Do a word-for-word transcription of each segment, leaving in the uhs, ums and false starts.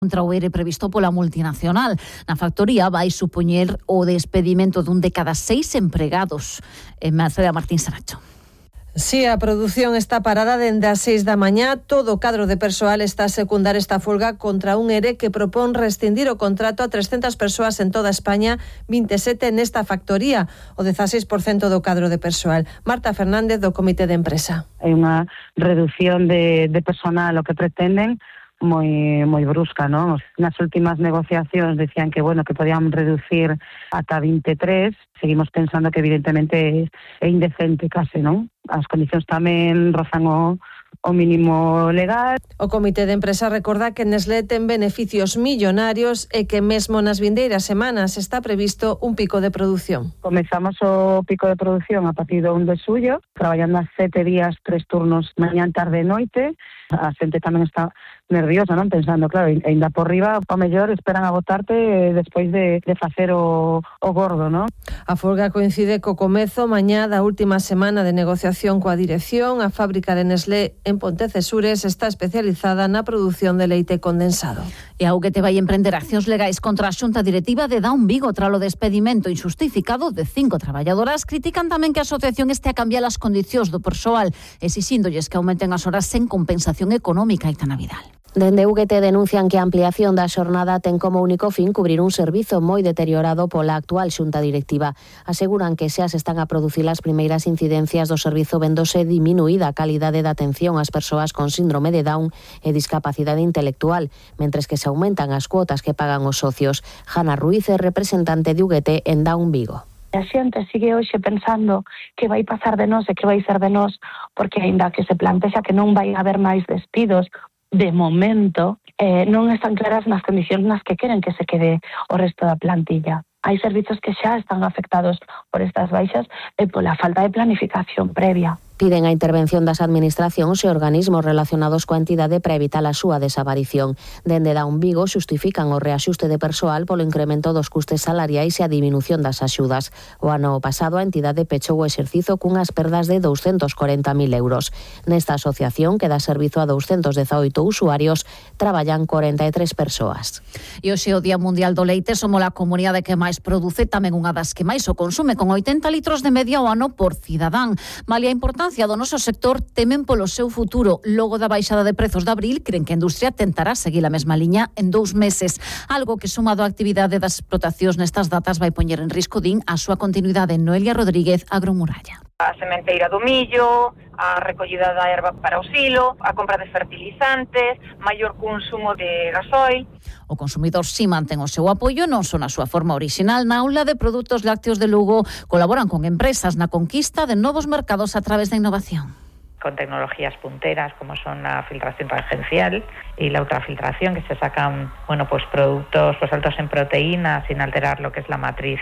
contra o E R E previsto pola multinacional. Na factoría vai supoñer o despedimento dun de cada seis empregados. En Mercedes Martín Saracho. Si, a produción está parada dende as seis da mañá. Todo o cadro de persoal está a secundar esta folga contra un E R E que propón rescindir o contrato a trescentas persoas en toda España, vinte e sete nesta factoría, o dezaseis por cento do cadro de persoal. Marta Fernández, do Comité de Empresa. Hai unha reducción de, de personal, o que pretenden, moi moi brusca, non? Nas últimas negociacións decían que, bueno, que podían reducir ata vinte e tres. Seguimos pensando que evidentemente é indecente case, non? As condicións tamén rozan o, o mínimo legal. O Comité de Empresa recorda que Nestlé ten beneficios millonarios e que mesmo nas vindeiras semanas está previsto un pico de produción. Comezamos o pico de produción a partir do un de xullo, traballando a sete días, tres turnos, mañán, tarde e noite. A xente tamén está nerviosa, non? Pensando, claro, ainda por riba, o mellor esperan a votarte despois de, de facer o, o gordo, non? A folga coincide co comezo mañá da última semana de negociación coa dirección. A fábrica de Nestlé en Pontecesures está especializada na produción de leite condensado. E a U G T vai emprender accións legais contra a xunta directiva de Daun Vigo tralo despedimento injustificado de cinco traballadoras. Critican tamén que a asociación este a cambiar as condicións do persoal, exixíndolles que aumenten as horas sen compensación económica. Aitana Vidal. Dende U G T denuncian que a ampliación da xornada ten como único fin cubrir un servizo moi deteriorado pola actual xunta directiva. Aseguran que xa se están a producir as primeiras incidencias do servizo vendose diminuída a calidade da atención ás persoas con síndrome de Down e discapacidade intelectual, mentres que se aumentan as cuotas que pagan os socios. Jana Ruiz é representante de U G T en Down Vigo. A xente sigue hoxe pensando que vai pasar de nós e que vai ser de nós, porque aínda que se plantexa que non vai haber máis despidos, de momento eh, non están claras nas condicións nas que queren que se quede o resto da plantilla. Hai servizos que xa están afectados por estas baixas e pola falta de planificación previa. Piden a intervención das administracións e organismos relacionados coa entidade para evitar a súa desaparición. Dende Daun Vigo xustifican o reaxuste de persoal polo incremento dos custes salariais e a diminución das axudas. O ano pasado a entidade pechou o exercizo cunhas perdas de douscentos corenta mil euros. Nesta asociación, que dá servizo a douscentos dezaoito usuarios, traballan corenta e tres persoas. E hoxe o Día Mundial do Leite, somos a comunidade que máis produce, tamén unha das que máis o consume, con oitenta litros de media ao ano por cidadán. Malia a importancia do noso sector, temen polo seu futuro. Logo da baixada de prezos de abril, creen que a industria tentará seguir a mesma liña en dous meses, algo que, sumado á actividade das explotacións nestas datas, vai poñer en risco, din, a súa continuidade. Noelia Rodríguez, Agromuralla. A sementeira do millo, a recollida da erva para o silo, a compra de fertilizantes, maior consumo de gasoil. O consumidor si mantén o seu apoio, non son a súa forma orixinal. Na aula de produtos lácteos de Lugo colaboran con empresas na conquista de novos mercados a través da innovación. Con tecnologías punteras como son la filtración tangencial y la ultrafiltración, que se sacan, bueno, pues productos pues altos en proteínas sin alterar lo que es la matriz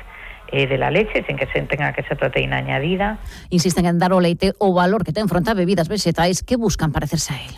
eh, de la leche, sin que se tenga que ser proteína añadida. Insisten en dar ao leite o valor que ten fronte a bebidas vegetais que buscan parecerse a él.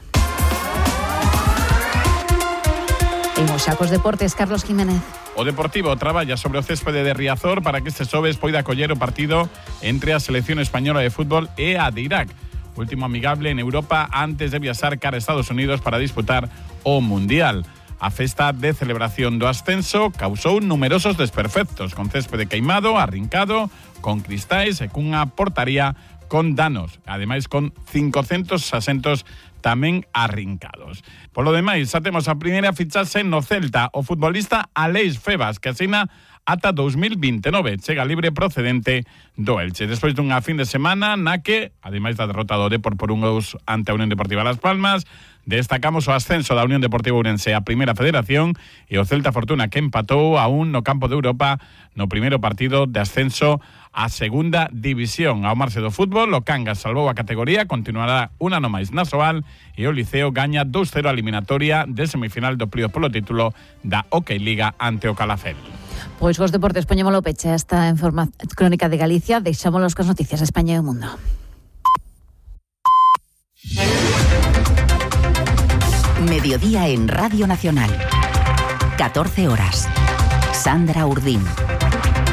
Imos xa cos deportes, Carlos Jiménez. O Deportivo traballa sobre o céspede de Riazor para que este xoves poida coller o partido entre a selección española de fútbol e a de Irak, último amigable en Europa antes de viaxar cara a Estados Unidos para disputar o Mundial. A festa de celebración do ascenso causou numerosos desperfectos, con céspede queimado, arrincado, con cristais e cunha portaría con danos, ademais con cincocentos asentos tamén arrincados. Polo demais, xa temos a primeira fichaxe no Celta, o futbolista Aleix Febas, que asina ata dous mil vinte e nove, chega libre procedente do Elche. Despois dunha fin de semana na que, ademais da derrota do Depor por un gol ante a Unión Deportiva Las Palmas, destacamos o ascenso da Unión Deportiva Ourense a Primeira Federación e o Celta Fortuna, que empatou a un no campo de Europa no primeiro partido de ascenso a Segunda División. Ao marxe do fútbol, o Cangas salvou a categoría, continuará un ano máis na Soal e o Liceo gaña dos cero a eliminatoria de semifinal do plío polo título da Hockey Liga ante o Calafel. Pois cos deportes poñémolo peche a esta informa crónica de Galicia, deixámonos cos noticias de España e o mundo. Mediodía en Radio Nacional. catorce horas. Sandra Urdín.